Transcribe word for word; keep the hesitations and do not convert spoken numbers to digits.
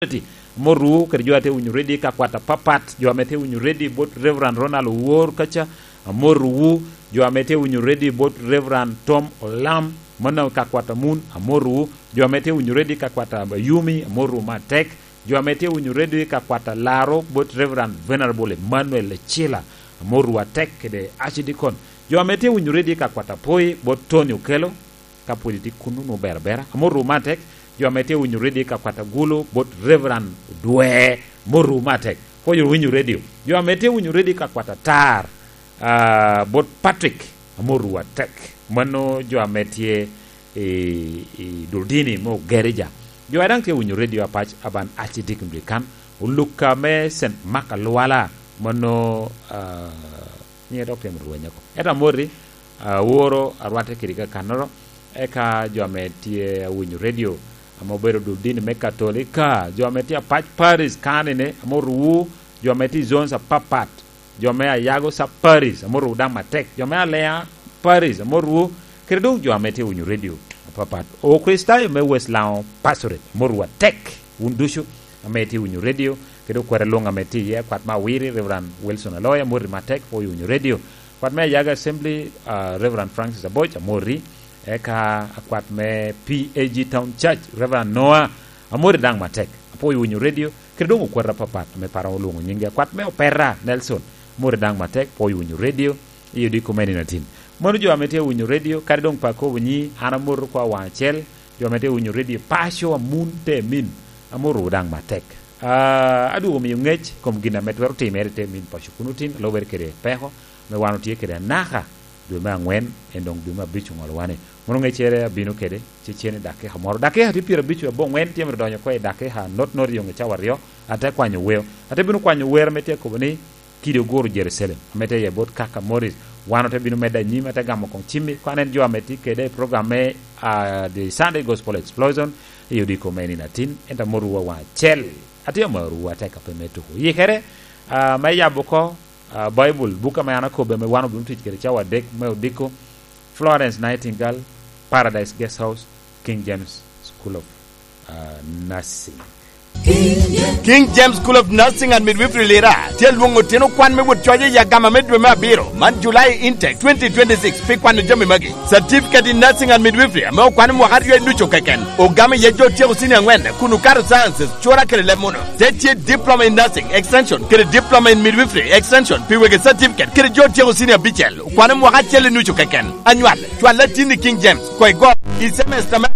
Community. Amotwu kede jo a tye winyo redio i kakwat apapat, jo ame tye winyo redio bot Reverend Ronald Owor kaca, amotwu, jo ame tye winyo redio bot Reverend Tom Olam, mano i kakwat a Mun, amotwu, jo ame tye winyo redio i kakwat a Yumi, amotwu matek, jo ame tye winyo redio i kakwat a Laro bot Reverend Venerable Emmanuel Ecila, amotwu atek kede Archdeacon, jo ame tye winyo redio i kakwat a Poi bot Tony Okello, ka pwod itye kunnu, nwoŋo ber abera. Amotwu matek, jo ame tye winyo redio i kakwat a Gulu bot Reverend Dwe, amotwu matek. Pwod winyo redio. Jo ame tye winyo redio i kakwat atar, ah, bot Patrick, amotwu atek. Mano jo ame tye i, i Durdini me Ogerija. Jo a daŋ tye winyo redio apac aban Archdeacon Rikan, Oluka me Saint Mark Alwala, mano, ah, nyiŋe dok tye mito rweny oko. Ento amoti, ah, woro arwatte kede kakannoro, eka jo ame tye awinyo redio, ame obedo dul dini me Katolika, jo ame tye apac Paris kanene, ame oruwu, jo ame tye i zones apapat, jo me Ayago Sub Paris, ame oruwu daŋ matek, jo me Alea Paris, ame oruwu, kede doŋ jo ame tye winyo redio apapat. Okricitayo me West Lango Pastorate, ame oruwu atek, wun ducu ame itye winyo redio, kede okwete luŋ ame tye iye, akwat me Awiri, Reverend Wilson Aloya, amoti matek, pwod winyo redio. Akwat me Ayago Assembly, ah, Reverend Francis Aboc, amoti. Eka akwat me P A G Town Church, Reverend Noah, amoti daŋ matek. Apwoyo winyo redio, kede doŋ okwete apapat ame pe aromo lwoŋo nyinggi. Akwat me Opera, Nelson, amoti daŋ matek, pwoyo winyo redio, i odiko me nino atin. Mano jo ame tye winyo redio, kadi doŋ pe akobo nyi, an amoto kwa waŋ acel, jo ame tye winyo redio, paco, amun, te min, amotowu daŋ matek. Ah, adwogo miyo ŋec kom gin ame twero timere i te min paco kuno tin, lubere kede peko, me wan otye kede anaka, dwe me angwen, en doŋ dwe me abic oŋolo wane. Mono ŋeccere abino kede, ceceni dakika moro. Dakika tye pyerabic aboŋwen tye mito donyo oko i dakika not not yoŋ i cawa aryo, ate kwanyo weo. Ate bino kwanyo wer ame tye akobo ni, kidi oguro Jerucalem, ame tye iye bot kaka Moris. Wan ote bino medde anyim, ate gamo koŋ cimmi, kwan en jo ame tye kede i program me, ah, The Sunday Gospel Explosion, i odiko me nino atin, ento amotowu waŋ acel. Atye amarowu atek ape me tuko. Yikere, ah, me yabo oko, ah, Baibul, buk ame an akobbe ame wan obino tic kede cawa adek me odiko, Florence Nightingale, Paradise Guest House, King James School of, ah, Nursing. King James School of Nursing and Midwifery Lira tye alwoŋo otino kwan me wot coc i agama me dwe me abiro, man July intake twenty twenty-six, pi kwano jami magi: Certificate in Nursing and Midwifery ame okwane mwaka aryo i ducu keken, ogamo iye jo otyeko senior angwen kun okato sciences, cura kede leb muno. Te tye Diploma in Nursing Extension kede Diploma in Midwifery Extension pi wegi certificate kede jo otyeko senior abicel, okwane mwaka acel i nucu keken. Anywal, cwal latin i King James, koi go i semester me